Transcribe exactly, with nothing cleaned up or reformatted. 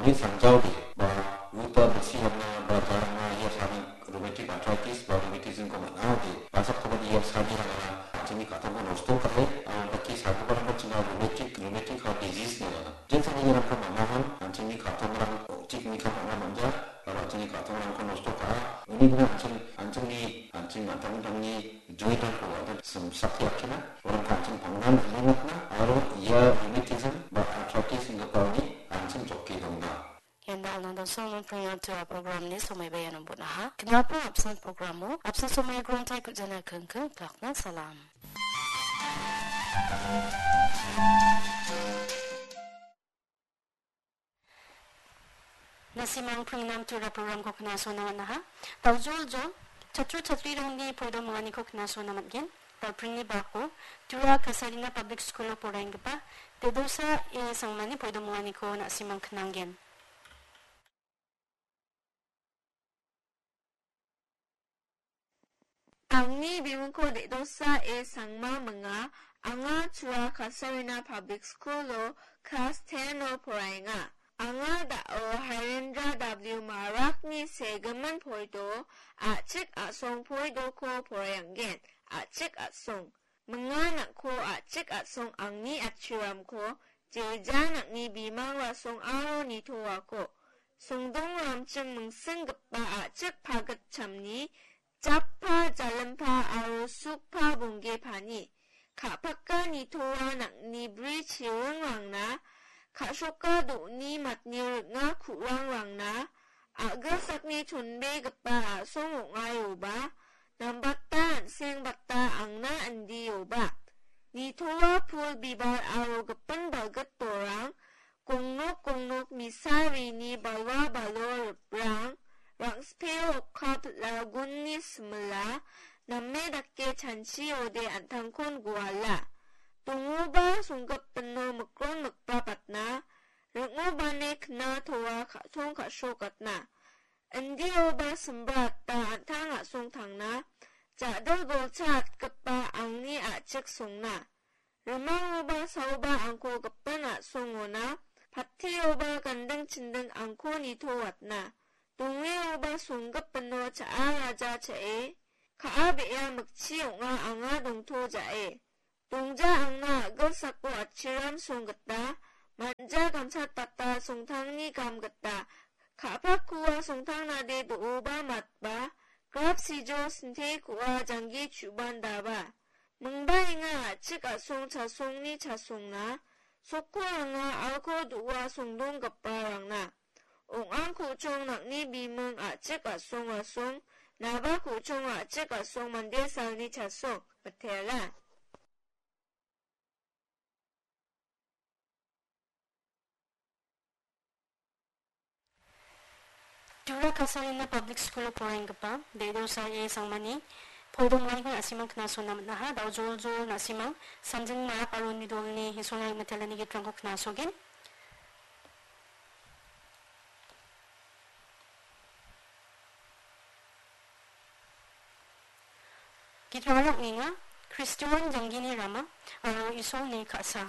Uni sangjaode ba uta bilsi hamna ba jarangna ia sani rheumatic arthritis ba rheumatism-ko man·aode, basakkoba ia sanirangara an·chingni ka·tongko nosto ka·e, aro dake sagiparangko chinga rheumatic, rheumatic heart disease ine uana. Jensani iarangko man·ahan, an·chingni ka·tongrang, o·chik nikam ong·na man·ja, aro an·chingni ka·tongrangko nosto ka·a. Uni gina an·ching, an·chingni, an·ching an·tangtangni jointrangko an·ching simsake rakkina, uarangko an·ching pangnan ilimatna, aro ia rheumatism ba arthritis inggipaoni an·ching joke dongna. Ian da·alna dosongo pringatua programni somaiba iano bon·aha. Knapo apsan programo, apsan somai grontai kujana kengkeng plakna salam. Nasimang pringnam tura programko knasona man·aha. Daujol jol, chatro chatrirangni poidomonganiko knasona man·gen. Dalpringni bako, Tura Kasarina Public School-o poraienggipa, Dedosa E Sangmani poidomonganiko nasimang knanggen. Angni bimingko Dedosa E Sangma minga, anga Tura Kasarina Public School-o klas ten-o poraenga. Anga da·o Harendra W Marakni segimin poido, a·chik a·song poidoko poraianggen, a·chik a·song. Minga nang·ko a·chik a·song angni atchiramko, jeja nang·ni bimang rasong aro nitoako. Songdong ramching mingsinggipa a·chik pagitchamni, jappa jalimpa aro sukpa bonggepani. Ka·paka nitoa nang·ni bri chiringrangna, ka·soka do·ni matni ring·a ku·rangrangna, a·gilsakni chonbegipa a·song ong·aioba, nambata an·sengbata angna indioba. Nitoa pul bibar aro gipin balgit dorang, gongnok gongnok misarini balwa balo riprang, rang·speo okka pil·a gunni simila, name dake chanchiode an·tangkon guala. Dongoba songgipino mikron mikbapatna, ring·obane knatoa ka·song ka·srokatna. Indioba simbrata an·tang a·song tangna, ja·dil golcha atgipa angni a·chik songna. Rimangoba saoba angko gipin a·songona, patteoba ganding chinding angko nitoatna. Dongeoba songgipino cha·a raja cha·e, ka·a be·a mikchi ong·a anga dongto ja·e. Dongja angna a·gilsako atchiram song gita, manja gamchatbata songtangni gam gita, ka·pakkoa songtangnade do·oba matba, grap sijo sintekoa janggi chu·bandaba. Mingbaenga a·chik a·song chasongni chasongna, sokko anga alko do·a songdonggiparangna. Ong·ang ku·chong nang·ni biming a·chik a·song rasong, naba ku·chong a·chik a·song mande salni chasong, mitela. Tura Kasarina Public School-o poraienggipa Dedosa E Sangmani poidomonganiko na·simang knasona man·aha. Daojoljol na·simang Samjing Marak aro Nidolni Isolna Rimitelani gitrangko knasogen. Gitrangara ong·enga, Kristoan janggini rama aro Isolni ka·sa.